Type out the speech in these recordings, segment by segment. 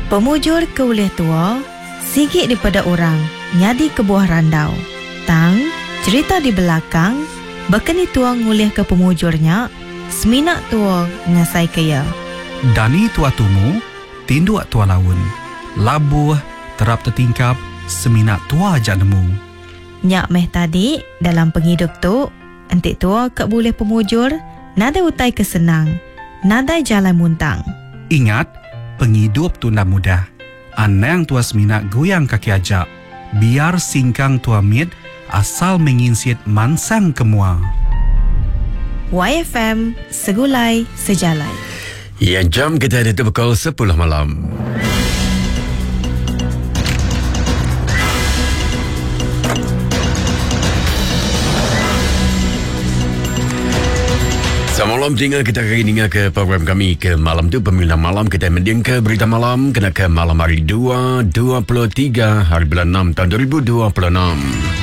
Pemujur ke ulih tua sigi dipeda orang nyadi kebuah randau. Tang, cherita di belakang baka ni tua ngulihka pemujur nya semina tua ngasaika iya. Dani tua tumu, tinduk tua laun. Labuh, terap tetingkap, semina tua aja nemu. Nya meh tadi dalam pengidup tu enti tua ka bulih pemujur nadai utai ke senang, nadai jalai muntang. Ingat, pengidup tu enda mudah. Anang tua semina guyang kaki aja. Biar singkang tua mit asal meh nginsit mansang ke mua. Waifm Segulai Sejalai. Iya jam kita ditu pukul 10 malam. Selamat malam tinggal kita hari ninga ke program kami ke malam tu pemilihan malam kita mending ke berita malam kena ke malam hari 2 23 hari bulan 6 tahun 2026.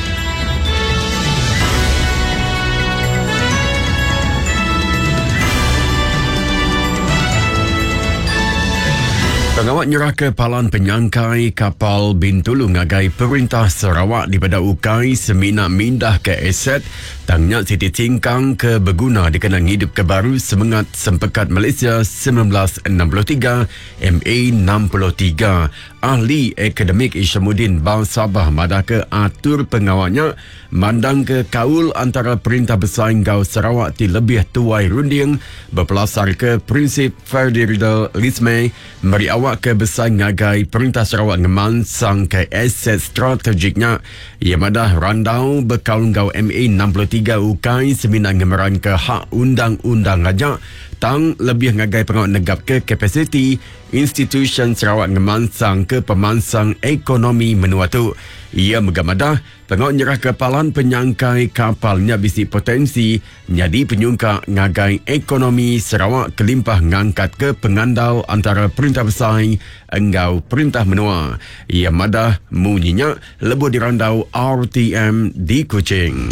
Pengawa nyerahka palan penyangkai kapal Bintulu ngagai Perintah Sarawak dipeda ukai semina mindahka aset tang nya siti singkang ke beguna dikena ngidupka baru semengat Sempekat Malaysia 1963 MA 63. Ahli Akademik Ishamuddin Ba Sabah madahka atur pengawa nya mandangka kaul antara Perintah Besai enggau Sarawak ti lebih tuai runding bepelasarka prinsip federalisme meri awak ke besai ngagai Perintah Sarawak ngemansangka aset strategik nya. Iya madah randau bekaul enggau MA 63 ukai semina ngemeranka hak undang-undang aja tang lebih ngagai pengawa negapka kapasiti institusyen Sarawak ngemansangka pemansang ekonomi menua tu. Iya mega madah, pengawa nyerahka palan penyangkai kapal nya bisi potensi nyadi penyungkak ngagai ekonomi Sarawak kelimpah ngangkatka pengandal antara Perintah Besai enggau Perintah Menua. Iya madah munyi nya lebuh dirandau RTM di Kuching.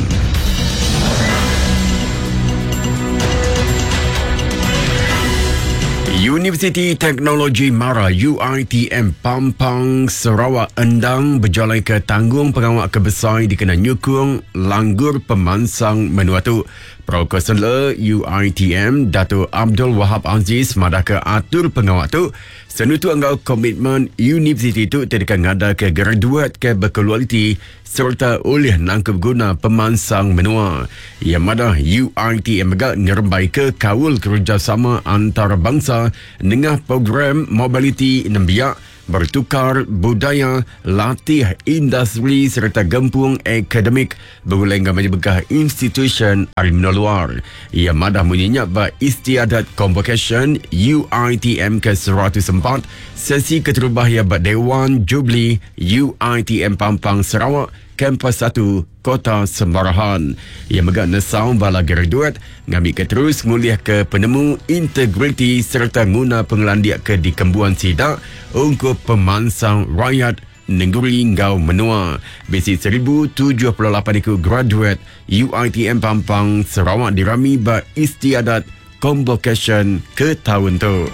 Universiti Teknologi Mara UiTM Pampang Sarawak endang bejalaika tanggung pengawa ke besai dikena nyukung langgur pemansang menua tu. Pro-Konselor UiTM Datuk Abdul Wahab Aziz madahka atur pengawa tu senutuk enggau komitmen universiti tu ti deka ngadaka graduet ke bekualiti sereta ulih nangkup guna pemansang menua. Iya madah UiTM mega ngerembaika kaul kerejasama antarabangsa nengah program mobiliti nembiak, bertukar budaya, latih industri sereta gempung akademik begulai enggau mayuh bengkah institusyen ari menua luar. Iya madah munyi nya ba Istiadat Konvokesyen UiTM ke 104, sesi keterubah iya ba Dewan Jubli UiTM Pampang Sarawak, Kampus satu, Kota Semarahan. Iya mega nesau bala graduet ngambika terus ngulihka penemu integriti sereta nguna pengelandik ke dikembuan sida ungkup pemansang rayat nengeri enggau menua. Bisi 1078 iku graduet UiTM Pampang Sarawak dirami ba Istiadat Konvokesyen ke taun tu.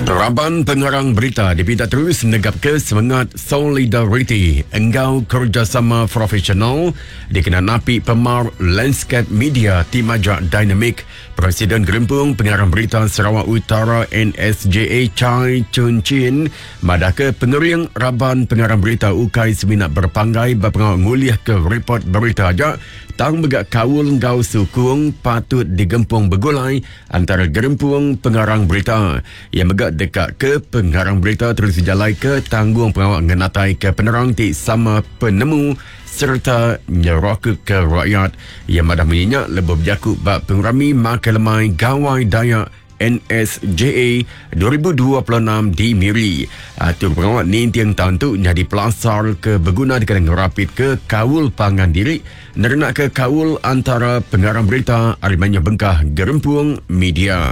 Raban pengarang berita dipinta terus negapka semengat solidariti enggau kerejasama profesional dikena napi pemar landskap media ti majak dinamik. Presiden Gerempung Pengarang Berita Sarawak Utara NSJA Chai Chun Chin madahka pengering raban pengarang berita ukai semina berepanggai ba pengawa ngulihka ripot berita aja tang mega kaul enggau sukung patut digempung begulai antara gerempung pengarang berita. Iya mega deka ke pengarang berita terus bejalaika tanggungpengawa ngenataika penerang ti sama penemu sereta nyerakuka rakyat. Iya madah munyi nya lebuh bejaku ba Pengerami Makai Lemai Gawai Dayak NSJA 2026 di Miri. Atur pengawa ninting taun tu nyadi pelasar ke beguna dikena ngerapitka kaul pangan diri nerenakka kaul antara pengarang berita ari mayuh bengkah gerempung media.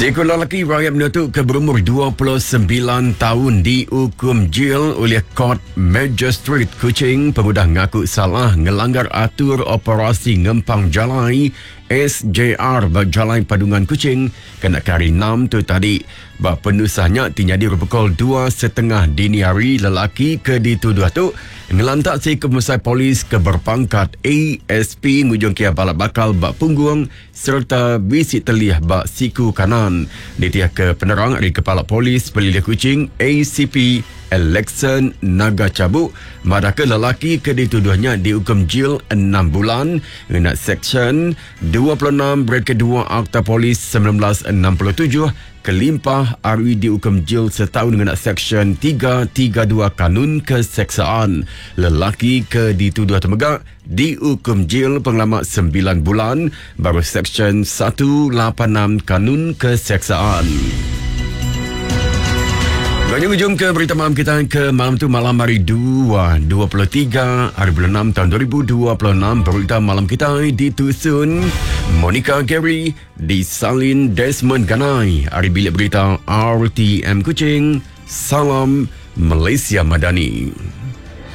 Siku lelaki rayat menua tu ke berumur 29 taun diukum jil oleh Court Magistrate Kuching pengudah ngaku salah ngelanggar atur operasi ngempang jalai SJR ba Jalai Padungan Kuching kena ke hari Enam tu tadi. Ba penusah nya ti nyadi pukul dua setengah dini hari lelaki ke dituduh tu ngelantak seiku pemesai polis ke berpangkat ASP ngujung kia balat bakal ba punggung sereta bisi telih ba siku kanan. Nitihka penerang ari Kepala Polis Pelilih Kuching ACP Alexson Naga Chabuk madahka lelaki ke dituduh nya diukum jil enam bulan ngena Seksyen 26 Bracket 2 Akta Polis 1967 kelimpah ari diukum jil setaun ngena Seksyen 332 Kanun Keseksaan. Lelaki ke dituduh tu mega diukum jil pengelama sembilan bulan baru Seksyen 186 Kanun Keseksaan. Banyak ujung ke berita malam kita ke malam tu malam hari 2, 23 hari bulan 6 tahun 2026 berita malam kita ditusun Monica Gary disalin Desmond Ganai hari bilik berita RTM Kuching. Salam Malaysia Madani.